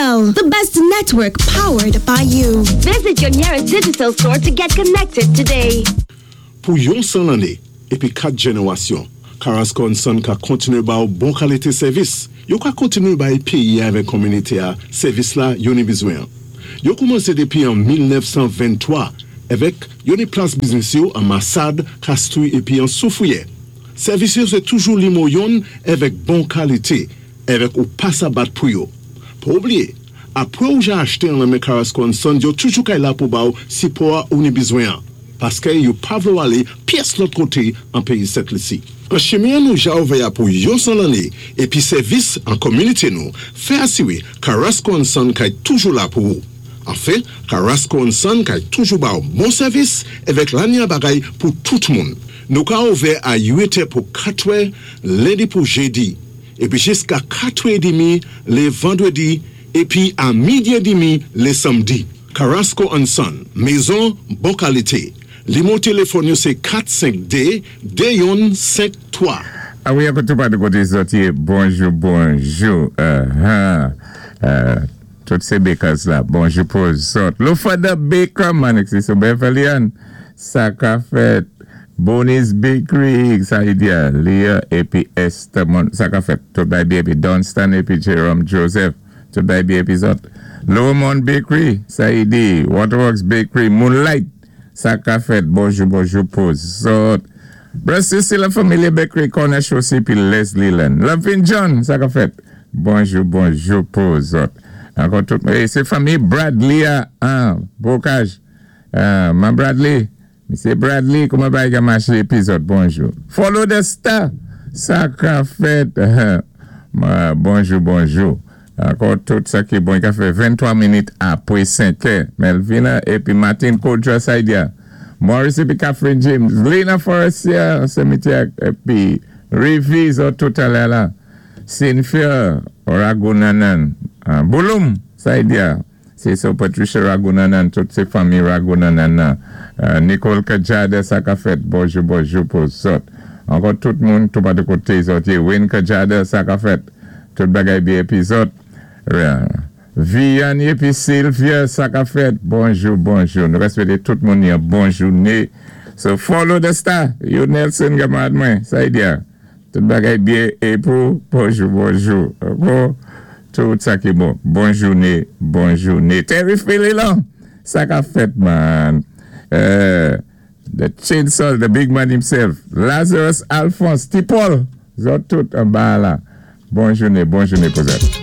Digicel, the best network powered by you. Visit your nearest Digicel store to get connected today. Pou yon 100 lanné épi 4 jénéwasyon, Carrasco & Son ka kontinué ba ou bon kalité sèvis. Yo ka kontinué bay péyi-a avèk kominité-a sèvis la yo ni bizwen-an. Yo koumansé dépi an 1923 avèk yo ni plas biznis yo an Masad, Kastri épi an Soufriyè. Sèvis yo sé toujou nimo yonn avèk bon kalité avèk ou pa sa bat pou yo. Pa oubliyé, apwé ou ja achté an nan men Carrasco & Son, yo toujou kay la pou ba ou sipò-a ou ni bizwen-an, paské yo pa vlé ou alé pyès lòt koté an péyi Sent Lisi. An chimen nou ja ouvè-a pou yon 100 lanné épi sèvis an kominité nou, fè asiwé Carrasco & Son kay toujou la pou ou. Anfen, Carrasco & Son kay toujou ba ou bon sèvis avèk lanya bagay pou tout moun. Nou ka ouvè a 8 è pou 4 è lendi pou jédi, épi jiska 4 è demi lé vandwédi, épi a midi é demi lé sanmdi. Carrasco & Son, mézon bon kalité. Nimo téléfòn yo sé 452 2153. A wi, ankò tou pa de koté sòti. Bonjou, bonjou. Tout sé bakers la. Bonjou pou zòt. Lofada Baker, man, so Beverly Ann. Sa ka fèt. Bonnie's Bakery, sa i di Leah épi Esther, sa ka fèt. Tout bay byen épi Dunstan épi Jerome Joseph. Tout bay byen épi zòt. Lowemont Bakery, sa i di Waterworks Bakery, Moonlight. Sa ka fèt. Bonjou, bonjou pou zòt. Brother la Familia Bakery, Corner Chaussée, pi Leslie Len. Lovin John, sa ka fèt. Bonjou, bonjou pou zòt. Ankò tout, sé fanmi Bradley an Bocage. Man Bradley, Misye Bradley, kouman bagay ka maché épi zòt, bonjou. Follow the star, sa ka fèt. Bonjou, bonjou. Ankò tout sa ki bon, i ka fè 23 minit apwé 5 è. Melvina épi Martin Kodra Saidia. Maurice épi Catherine James. Lena Forestier, Semitiak épi Rivi, zòt tout alè la. Cynthia Ragunanan. Bouloum, Saidia. Sé so Patricia Ragunanan, tout sé fanmi Ragunanan nan. Nicole Kajada, sa ka fèt. Bonjou, bonjou pou zòt. Ankò tout moun, tou pa de koté zòt. Wayne Kajada, sa ka fèt. Tout bagay byen épi zòt. Vianne épi Sylvia, sa ka fèt. Bonjou, bonjou. Nou swété tout moun yon bon jouné. So follow the star. Yo Nelson kamarad mwen, sa i di. Tout bagay byen é pou bonjou, bonjou. Ankò tout sa ki bon. Bon jouné, bon jouné. Terry Philly sa ka fèt man. The Chainsaw, the big man himself. Lazarus Alphonse, T. Paul. Zòt tout an ba la. Bon jouné, bon jouné pou zòt.